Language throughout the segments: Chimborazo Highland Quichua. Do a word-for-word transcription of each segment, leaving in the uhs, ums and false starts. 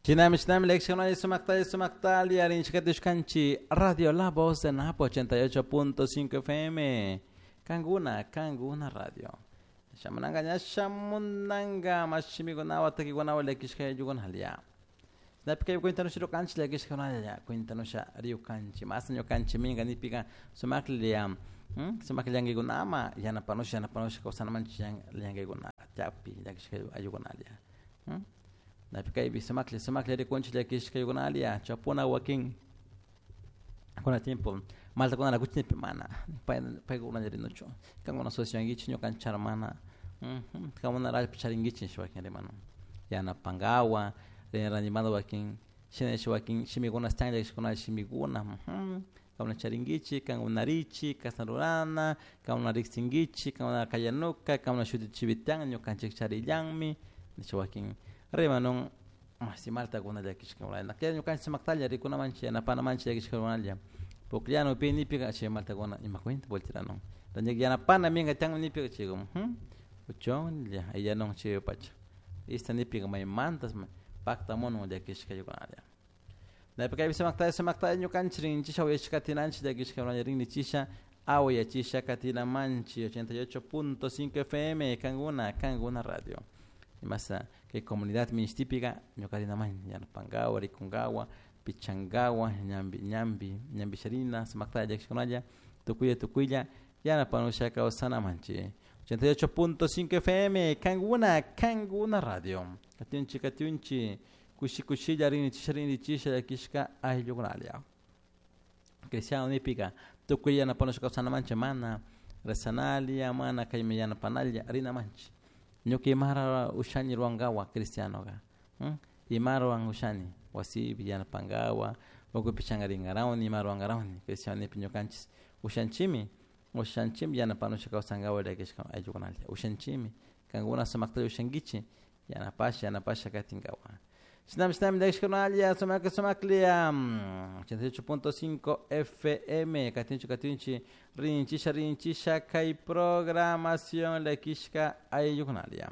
Shinami shinami lecciones sumaktalla sumaktalla rinchikatishkanchi Radio La Voz de Napo ochenta y ocho punto cinco F M Kanguna Kanguna Radio. Shamunanga ña shamunanga mashimikunawa takikunawa llakishka yuyukunalia. Napika cuéntanos kanchi llakishka cuéntanos riukanchi mas ñukanchi minga nipika sumaklla sumakllankaykunama yanapanusha yanapanusha kawsanamanchik llankaykunata chapi llakishka ayukunalia. Napikaypi sumaklla sumaklla rikunchik llakishka ayukunalia chapuna wakin kuna tiempo maltakunala kuchinipi mana paykunalla rinuchu kankuna asociankichik ñukanchik mana kankuna allpa charinkichik wakin rimanu yanapankawa rinimanta wakin shinash wakin shimikuna chan llakishkuna shimikuna kankuna charinkichik kankuna richik kashna rurana kankuna riksinkichik kankuna kallanuka kankuna shutichivitian ñukanchik charillanmi nisha wakin rimanun masi maltakuna llakishka kay ñukanchik sumaktalla rikunamanchik yanapanamanchik llakishkakunalla pukllana upi nipika chay maltakuna ima cuenta volteranun yanapana minka tian nipika chayka uchonlla ayllanun chay pacha ista nipika maymantas paktamunun llakishkaykunalla napika sumaktalla sumaktalla ñukanchik rinchisha uyashkatinanchik llakishkakunalla rinnichisha awayachisha katinamanchik ochenta y ocho punto cinco F M Kanguna Kanguna Radio imasa kay comunidad minishtipika ñukarinaman yanapankawa rikunkawa pichankawa ñambi ñambi ñambisharina sumaktalla llakishkunalla tukuylla tukuylla yanapanusha kawsanamanchik ochenta y ocho punto cinco F M Kanguna Kanguna Radio katyunchi katyunchi kushi kushilla rinichisha rinichisha llakishka ayllukunalla cristiano nipika tukuy yanapanusha kawsanamanchik mana rezanalia mana kaymi yanapanalla rinamanchik ñuka imara ushani ruwankawa cristianoka ima ruwan ushani wasipi yanapankawa ukupi chankarinkarawni ima ruwankarawni cristiano nipi ñukanchik ushanchimi ushanchimi yanapanusha kawsankawa llakishka ayllukunalla ushanchimi kankuna sumaktalla ushankichik yanapasha yanapasha katinkawa shinami shinami llakishkunalla sumaklla sumaklla ochenta y ocho punto cinco F M katinchi katinchi rinchisha rinchisha kay programación llakishka ayllukunalla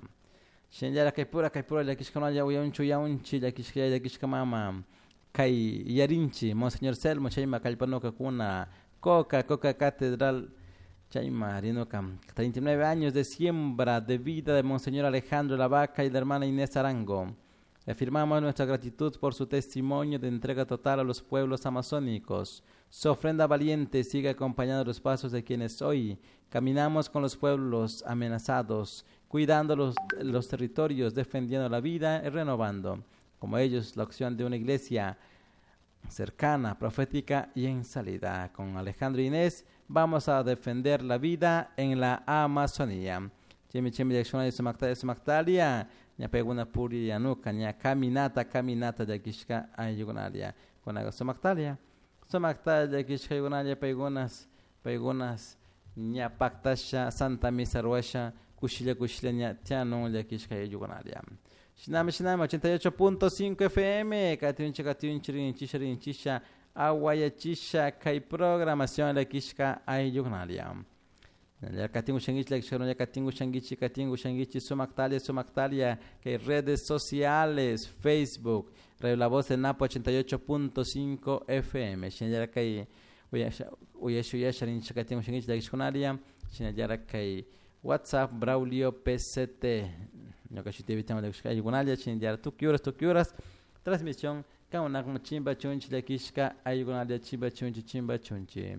shinallara kay pura kay pura llakishkunalla uyaunchi uyaunchi llakishka llakishka mama kay yarinchi Monseñor Selmo chayma kallpanukakuna Coca Coca Catedral chayma rinuka treinta y nueve años de siembra de vida de Monseñor Alejandro Lavaca y la hermana Inés Arango. Afirmamos nuestra gratitud por su testimonio de entrega total a los pueblos amazónicos. Su ofrenda valiente sigue acompañando los pasos de quienes hoy caminamos con los pueblos amenazados, cuidando los, los territorios, defendiendo la vida y renovando, como ellos, la acción de una iglesia cercana, profética y en salida. Con Alejandro Inés vamos a defender la vida en la Amazonía. Chimi chimi llakishkunalla sumaktalla sumaktalia ña paykuna purillanuka ña caminata caminata llakishka ayllukunalia kunaqa sumaktalia sumaktalla llakishka ayllukunalla paykunas paykunas ña paktasha Santa Misa ruwasha kushilla kushilla ña tianun llakishka ayllukunalia shinami shinami ochenta y ocho punto cinco F M katyunchi katyunchi rinchisha rinchisha awayachisha kay programación llakishka ayllukunalia katingu shangichi llakishka katingu shangichi katingu shangichi sumaktalia sumaktalia kay redes sociales Facebook Radio La Voz de Napo ochenta y ocho punto cinco F M shinallara kay uyasha uyasha rinchi katingu shangichi llakishkunalia shinallara kay WhatsApp Braulio P C T ñuka shutipi llakishka ayllukunalia shinallara tukuy horas tukuy horas transmisión kankunakman chimba chunchi llakishka ayllukunalia chimba chunchi chimba chunchi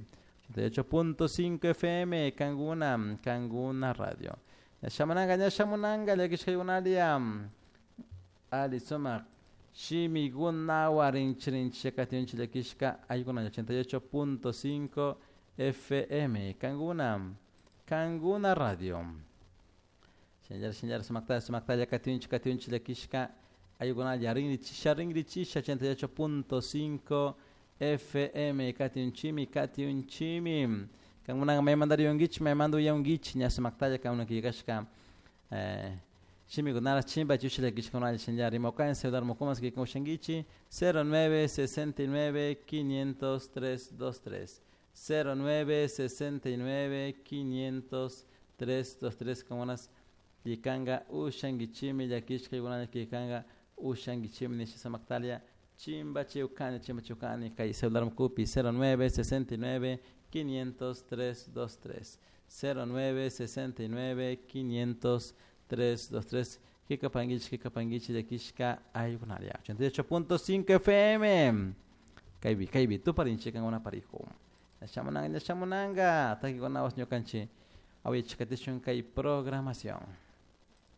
ochenta y ocho punto cinco F M Kanguna Kanguna Radio ñashamunanga ñashamunanga llakishkaykunalia ali sumak shimikunawa rinchi rinchi katinchi llakishka ayllukunalla ochenta y ocho punto cinco F M Kanguna Kanguna Radio shinallara shinallara sumaktalla sumaktalla katinchi katinchi llakishka ayllukunalla rinrichisha rinrichisha ochenta y ocho punto cinco F M katyunchimi katyunchimi kankunaka maymanta riyunkichik maymanta uyamunkichik ña sumaktalla kankuna killkashka shimikunara chimpa chusha llakishkunalla shinallara rimakukan celular mukumas killkan ushankichik cero nueve sesenta y nueve quinientos tres dos tres cero nueve sesenta y nueve quinientos tres dos tres kankunas killkanka ushankichimi llakishka ayllukunalla killkanka Ushanguichimi nisha samaktalia chimbachiukani chimbachiukani kay celular mukupi cero nueve sesenta y nueve quinientos tres dos tres cero nueve sesenta y nueve quinientos tres dos tres kikapanguichi kikapanguichi llakishka ayukunaria ochenta y ocho punto cinco F M kaypi kaypi tuparinchik kankuna parijo ña shamunanga takikunawash ñukanchik awayachikatishun kay programación.